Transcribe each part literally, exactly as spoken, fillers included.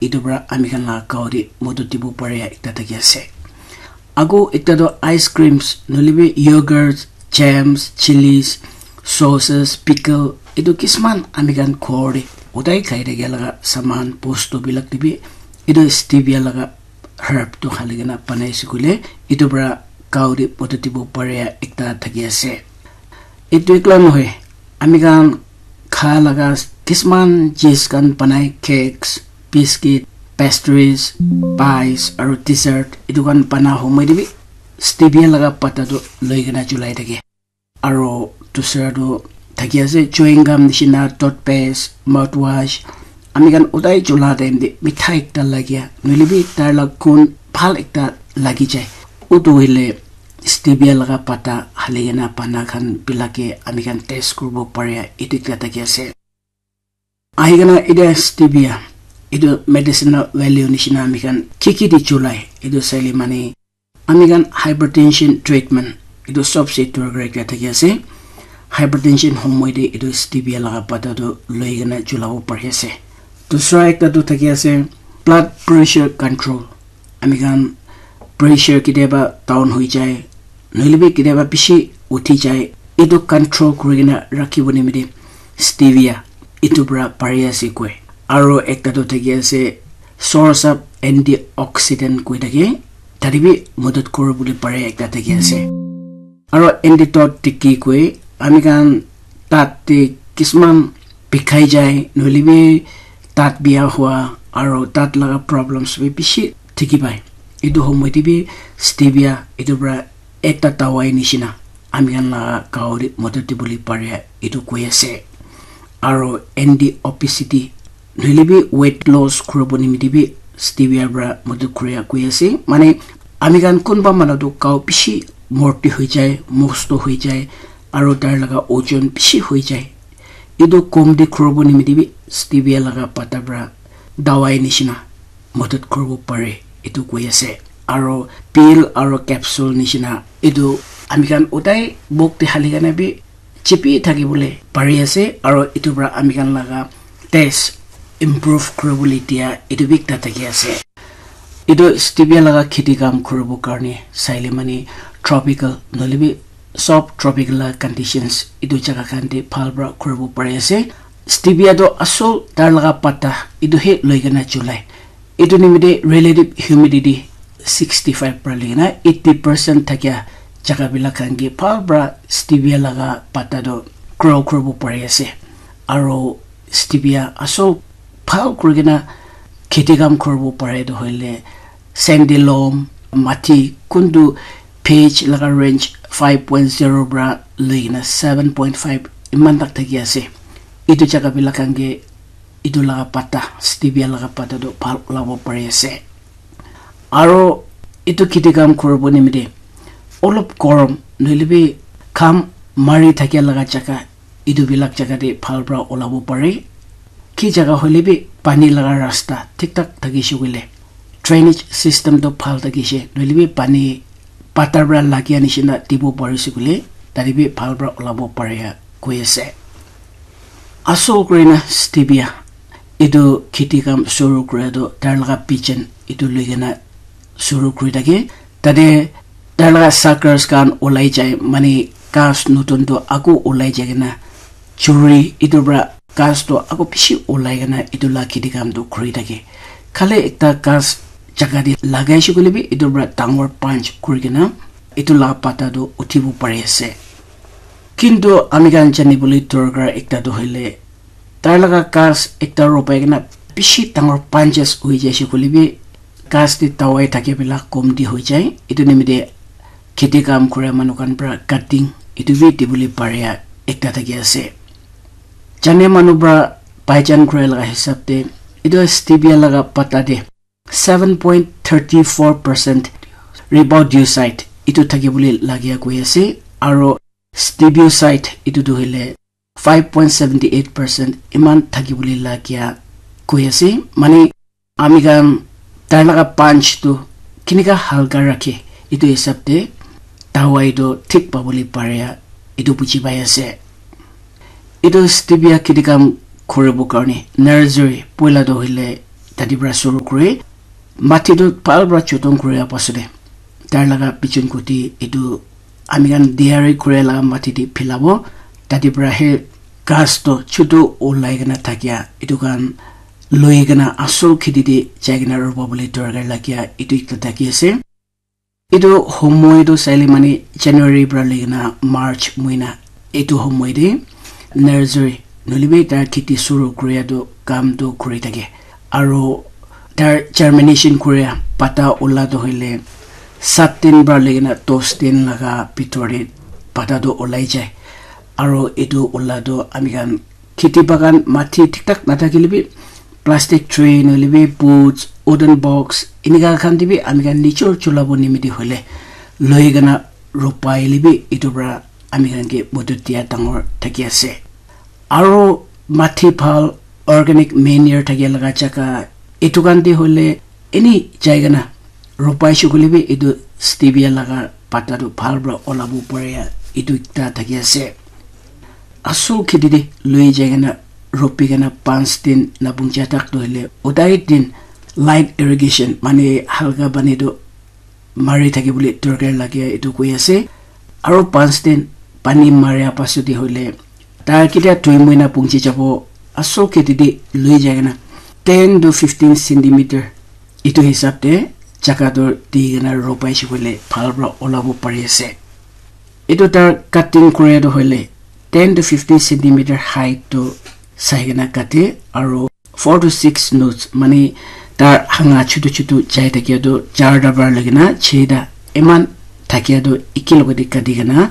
etu para ami khan la gao te modot dibo pare ekta thaki ase. Ago ekta toh ice creams, nohoilebi yogurts, jams, chilies, sauces, pickle, etu kisman ami khan ghor te udai khai thakia laga saman, bostu bilak te bi etu stevia laga herb tu hali kena banai ase koile, etu para gao te modot dibo pare ekta thaki ase. Etu ekla nohoi, ami khan kha laga kisman cheez khan banai, cakes, biscuit, pastries, pies, aru dessert, etu khan bana homoi te bi stevia laga pata tu loi kena julai thake. Aru dusra tu thaki ase, chewing gum nishina, toothpaste, mouthwash, ami khan udai chula time te mitha ekta lagia, nohoilebi tar la gun bhal ekta lagi jai. Utu hoile stevia laga pata hali kena bana khan bilak ke ami khan taste kuribo pare, etu ekta thaki ase. Ahi kena etia stevia, etu medicinal value nishina ami khan ki ki di chulai, etu saile mane ami khan hypertension treatment, etu sob se dorkar ekta thaki ase. Hypertension homoi te etu stevia laga pata tu loi kena chulabo pari ase. Dusra ekta tu thaki ase blood pressure control. Ami khan pressure ketiaba down hoi jai, nohoilebi ketiaba bishi uthi jai, etu control kuri kena rakhibo nimite stevia etu para pari ase koi. Aru ekta tu thaki ase source of antioxidant koi thake, tate bi modot kuri bole pare ekta thaki ase. Aru antidote te ki koi, ami khan daat te kisman bikhai jai, nohoilebi daat bia hua, aru daat laga problems bi bishi dikhi pai. Etu homoi te bi stevia etu para ekta dawai nishina ami khan laga gao te modot dibole pare, etu koi ase. Aru anti obesity, nohoilebi weight loss kuribo nimite bi stevia para modot kuria koi ase. Mane ami khan kunba manu tu gao bishi morti hoi jai, mosto hoi jai, aru tar laga ojon bishi hoi jai. Etu komti kuribo nimite bi stevia laga pata para dawai nishina modot kuribo pare, etu koi ase. Aru pill aru capsule nishina etu ami khan udai muk te hali kena bi chipi thaki bole pari ase, aru etu para ami khan laga taste improve kuri bole dia etu bi ekta thaki ase. Etu stevia laga kheti kam kuribo karne saile mane tropical nohoilebi sob tropical laga conditions etu jaga khan te bhal para kuribo pari ase. Stevia tu asol tar laga pata etu he loi kena chulai. Etu nimite relative humidity sixty five para loi kena eighty percent thakia jaga bilak khan ke bhal para stevia laga pata tu grow kuribo pari ase. Aru stevia asol bhal kuri kena kheti kam kuribo pare tu hoile sandy loam, mati kuntu pH laga range five point zero para loi kena seven point five iman tak thaki ase. Etu jaga bilak khan ke etu laga pata, stevia laga pata tu bhal ulabo pari ase. Aru etu kheti kam kuribo nimite olop gorom nohoilebi gham mari thakia laga jaga, etu bilak jaga te bhal para ulabo pare. Ki jaga hoilebi pani laga rasta thik thak thakise koile, drainage system tu bhal thakise, nohoilebi pani pathor para lagia nishina dibo parise koile, tate bi bhal para ulabo pare koi ase. Asol kuri na stevia etu kheti kam shuru kura tu tar laga pigeon etu loi kena shuru kuri thake. Tate tar laga suckers khan ulai jai, mane ghas notun tu aku ulai jai kena churi etu para ghas tu aku bishi ulai kena etu la kheti kam tu kuri thake. Khali ekta ghas jaga te lagaise koile bi etu para dangor bunch kuri kena etu la pata tu uthibo pari ase. Kintu ami khan jani bole dorkar ekta tu hoile tar laga ghas ekta ropai kena bishi dangor bunches hoi jaise koile bi ghas te dawai thake bilak komti hoi jai. Etu nimite kheti kam kura manu khan para cutting etu bi dibole pare ekta thaki ase. Jane manu para paijan kura laga hisab te etu stevia laga pata te seven point thirty four percent riboside etu thaki bole lagia koi ase, aru stevioside etu tu hoile five point seventy eight percent iman thaki bole lagia koi ase. Mane ami khan tai laga bunch tu kinika halka rakhe, etu hisab te dawai tu thik pabole pare, etu buji pai ase. Etu stevia kheti kam kuribo karne nursery poila tu hoile tate para suru kure. Mati tu bhal para choton kure apasode. Tar laga pichon kuti etu ami khan diari kure laga mati te philabo. Tate para he ghas to chutu ulai kena thakia etu khan loi kena asol kheti te jai kena robo bole dorkar lagia etu ekta thaki ase. Etu homoi tu saile mane January para loi kena March moina etu homoi te nursery nohoile bi tar kheti suru kuria tu kam tu kuri thake. Aro tar germination kuria pata ula tu hoile sat din para loi kena dos din laga bitor te pata tu ulai jai. Aro etu ula tu ami khan kheti bagan mati thik thak nathakile bi plastic tray nohoile bi boots, wooden box, enika khan te bi ami khan nijor chulabo nimite hoile loi kena ropai le bi etu para ami khan ke modot dia dangor thaki ase. Aro mati bhal organic manure thakia laga jaga etu khan te hoile eni jai kena ropai shey koile bi etu stevia laga pata tu bhal para olabo pare etu ekta thaki ase. Asol kheti te loi jai kena ropi kena panch din na punja tak tu hoile udai din light irrigation mane halka pani tu mari thaki bole dorkar lage etu koi ase. Aro panch din pani maria pasot te hoile tar ketia dui moina punji jabo asol kheti te loi jai kena ten to fifteen centimeter etu hisab te jaga tu di kena ropai shey koile bhal para olabo pari ase. Etu tar cutting kure tu hoile ten to fifteen centimeter height tu sai kena kate aro four to six nodes mane tar hanga chutu chutu jai thakia tu charta para loi kena cheta eman thakia tu eki logote kati kena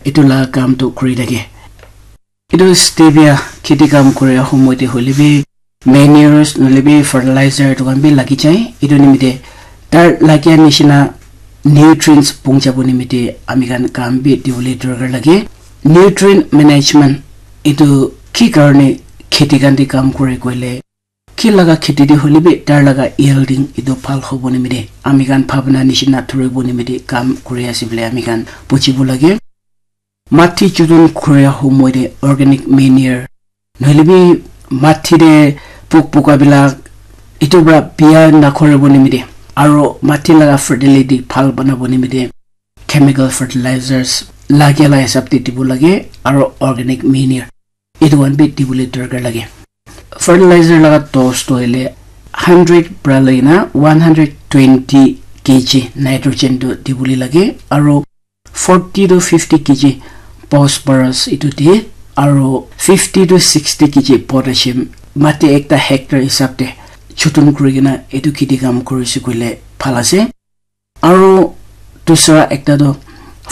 etu la kam tu kuri thake. Etu stevia kheti kam kure homoi te hoile bi manures nohoile bi fertilizer etu khan bi lagi jai. Etu nimite tar lagia nishina nutrients pung jabo nimite ami khan kam bi dibole dorkar lage. Nutrient management etu ki karne kheti khan te kam kure koile ki laga kheti te hoile bi tar laga yielding etu bhal hobo nimite ami khan bhabna nishina thoribo nimite kam kuri ase bole ami khan bujibo lage. Mati chuton kuria homoi te organic manure nohoile bi mati te pok poka bilak etu para biya nakoribo nimite aro mati laga fertility bhal banabo nimite chemical fertilizers lagia la hisab te dibo lage aro organic manure etu khan bi dibole dorkar lage. Fertilizer laga dose tu hoile hundred para loi kena one hundred twenty K G nitrogen tu dibole lage aro forty to fifty K G phosphorus etu de aro fifty to sixty K G potassium mati ekta hectare hisab te chuton kuri kena etu kheti kam kuri se koile bhal ase. Aro dusra ekta tu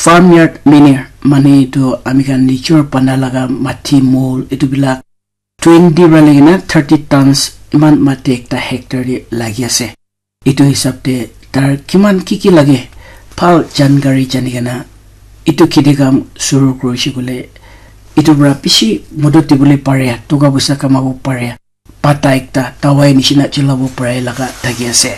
farmyard manure mane etu ami khan nijor bana laga mati mol etu bilak twenty para loi kena thirty tons eman mati ekta hectare te lagi ase. Etu hisab te tar kiman ki ki lage bhal jankari jani kena etu kheti kam suru kuri se koile etu para bishi modot dibole pare toka poisa kamabo pare pata ekta dawai nishina chulabo pare laga thaki ase.